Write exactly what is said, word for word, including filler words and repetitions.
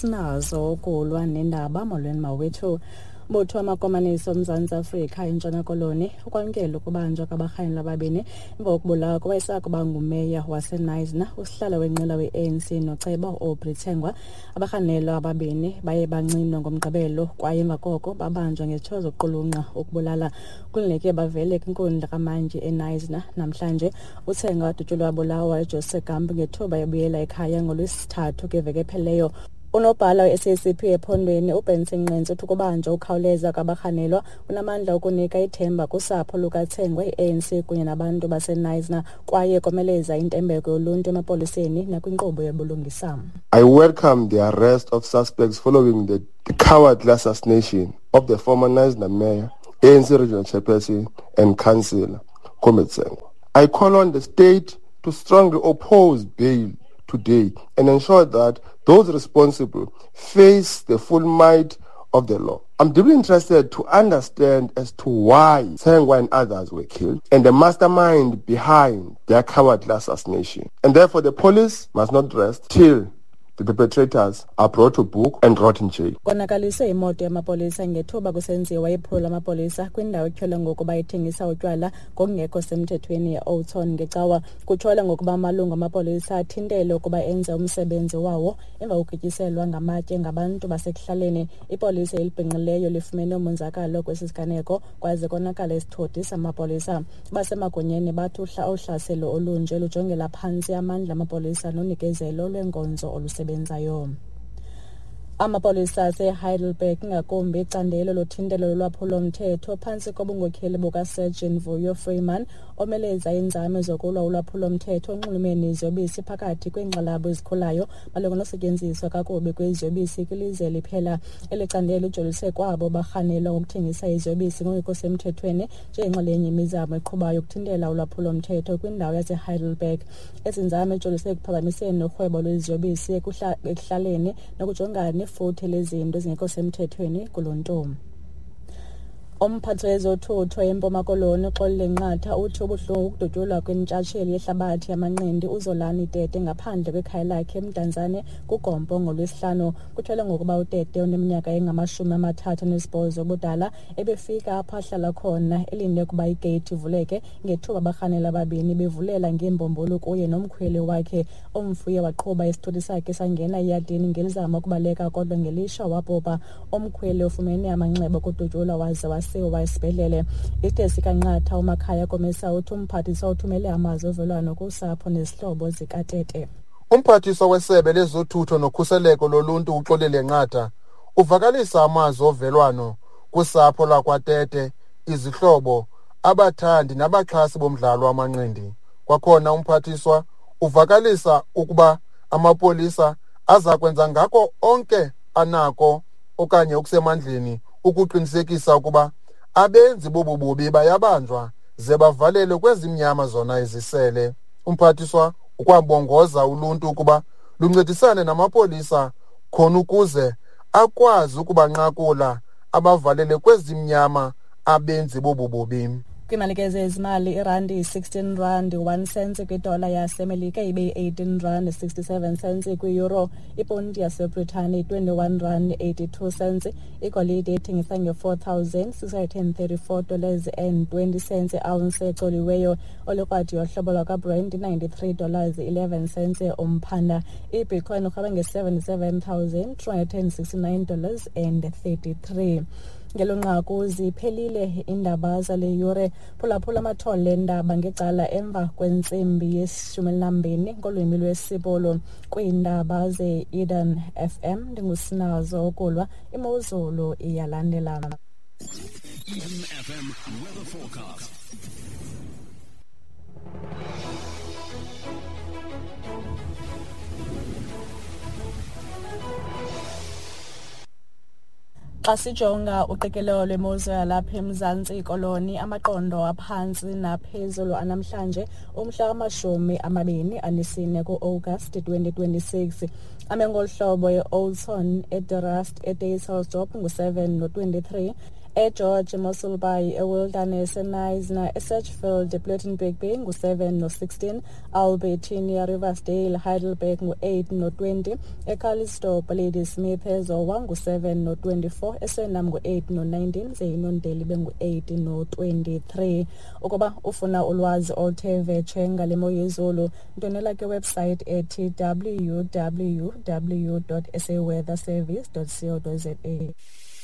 Ndingusinazo ukulwa nendaba. Molweni mawethu. Mbutho wamakomanisi oMzantsi Afrika eNtshona Koloni ukwamkela ukubanjwa kwabarhanelwa ababini emva kokubulawa kowayesakuba ngumeya waseKnysna, usihlalo wenqila we-A N C noceba u-Aubrey Tsengwa. Abarhanelwa ababini baye bancinwa ngoMgqibelo kwaye emva koko babanjwa ngezitsho zokuqulunqa ukubulala. Kulindeleke bavele kwinkundla kamantyi eKnysna namhlanje. UTsengwa wadutyulwa wabulawa eJoseph Gamp ngethuba ebuyela ekhaya ngoLwesithathu kwiveki ephelileyo. Unobhala we-S A C P ephondweni uBenson Nqentsu uthi ukubanjwa ukhawuleza kwabarhanelwa unamandla okunika ithemba kusapho lukaTsengwa, i-A N C kunye nabantu baseKnysna, kwaye komeleza intembeko yoluntu emapoliseni nakwinkqubo yobulungisa. I welcome the arrest of suspects following the cowardly assassination of the former Knysna mayor, A N C regional chairperson and councillor, Comrade Tsengwa. I call on the state to strongly oppose bail today and ensure that those responsible face the full might of the law. I'm deeply interested to understand as to why Tsengwa and others were killed and the mastermind behind their cowardly assassination. And therefore the police must not rest till the perpetrators are brought to book and rot in jail. Konakaliswe imoto yamapolisa ngethuba kusenziwa iphulo lamapolisa kwindawo etyholwa ngokuba ithengisa utywala ngokungekho semthethweni e-Oudtshoorn ngeCawa. Kutyholwa ngokuba amalungu amapolisa athintele ukuba enze umsebenzi wawo emva kokugityiselwa ngamatye ngabantu basekuhlaleni. Ipolisa elibhinqileyo lifumene umonzakalo kwesi siganeko kwaze konakala isithuthi samapolisa. Basemagunyeni bathi uhlaselo olunje lujongela phantsi amandla amapolisa nonikezelo lwenkonzo olusebenzayo. Amapolisa aseHeidelberg, ingakumbi icandelo lothintelo lolwaphulo-mthetho phantsi kobunkokheli bukaSergeant Vuyo Freeman, omeleza iinzame zokulwa ulwaphulo-mthetho onxulumene neziyobisi phakathi kweenkxalabo ezikhulayo malunga nokusetyenziswa kakubi kweziyobisi kwilizwe liphela. Eli candelo lijolise kwabo barhanelwa ngokuthengisa iziyobisi ngokungekho semthethweni njengenxalenye yemizamo eqhubayo yokuthintela ulwaphulo-mthetho kwindawo yaseHeidelberg. Ezi nzame zijolise ekuphazamiseni urhwebo lweziyobisi ekuhlaleni nokujongana nefuthe lezinto ezingekho semthethweni kuluntu. Umphathi wezothutho eMpuma Koloni uXolile Nqatha uthi ubuhlungu ukudutyulwa kwentshatsheli yehlabathi yamanqindi uZolani Tete ngaphandle kwekhaya lakhe eMdantsane kuGompo ngoLwesihlanu. Kutyholwa ngokuba uTete oneminyaka engamashumi amathathu anesibhozo ubudala ebefika apho ahlala khona elinde ukuba igeyithi ivuleke ngethuba abarhanelwa ababini bevulela ngeembumbulu kuye nomkhweli wakhe. Umfi waqhuba isithuthi sakhe sangena eyadini ngelizama ukubaleka, kodwa ngelishwa wabhubha. Umkhweli ufumene amanxeba okudutyulwa waze wasiwa esibhedlele. Isithe sikaNqatha uMakhaya Komisa uthi umphathiswa uthumele amazwi ovelwano kusapho nezihlobo zikaTete. Umphathiswa wesebe lezothutho nokhuseleko loluntu uXolile Nqatha uvakalisa amazwi ovelwano kusapho lwakwaTete, izihlobo, abathandi nabaxhasi bomdlalo wamanqindi. Kwakhona umphathiswa uvakalisa ukuba amapolisa aza kwenza ngako onke anako okanye okusemandleni ukuqinisekisa ukuba abenzi bobu bubi bayabanjwa ze bavalelwe kwezimnyama zona izisele. Umphathiswa ukwabongoza uluntu ukuba luncedisane namapolisa khona ukuze akwazi ukubanqakula abavalele kwezimnyama abenzi bobu bubi. Kwimalike zezimali, irandi yi-sixteen rand one cents kwidola yaseMelika, ibe yi-eighteen rand sixty-seven cents kwi-euro. Iponti yaseBritane twenty-one rand eighty-two cents. Igolide ithengisa nge-four thousand six hundred and thirty-four dollars and twenty cents i-ounce ecoliweyo. Olukrwadi yohlobo lwakwaBrent ninety-three dollars eleven cents umphanda. IBitcoin urhweba nge-seventy-seven thousand two hundred and sixty-nine dollars and thirty-three. Ngelo nqaku ziphelile iindaba zale yure. Phulaphula amathole eendaba ngecala emva kwentsimbi yeshumi elinambini ngolwimi lwesiBhulu kwiindaba ze-Eden F M. Ndingusinazo ukulwa. Imozulu iyalandela. Eden F M weather forecast. Xa sijonga uqikelelo lwemozulu yalapha eMzantsi Koloni, amaqondo aphantsi naphezulu anamhlanje umhla wamashumi amabini anesine ku-August twenty twenty-six ame ngolu hlobo: e-Oudtshoorn, eDe Rust, eDysselsdorp ngu-seven no-twenty-three, eGeorge, Mossel Bay, eWilderness, eKnysna, eSedgefield, ePlettenberg Bay ngu-seven no-sixteen, Albertinia, Riversdale, Heidelberg ngu-eight no-twenty, eCalitzdorp, Ladysmith, eZowa ngu-seven no-twenty-four, eSwellnum ngu-eight no-nineteen, ze iNondeli ibe ngu-eight no-twenty-three. Ukuba ufuna ulwazi oluthe vetshe ngale mo yezulu, ndwendwela kwiwebsite ethi w w w dot sa weather service dot co dot za.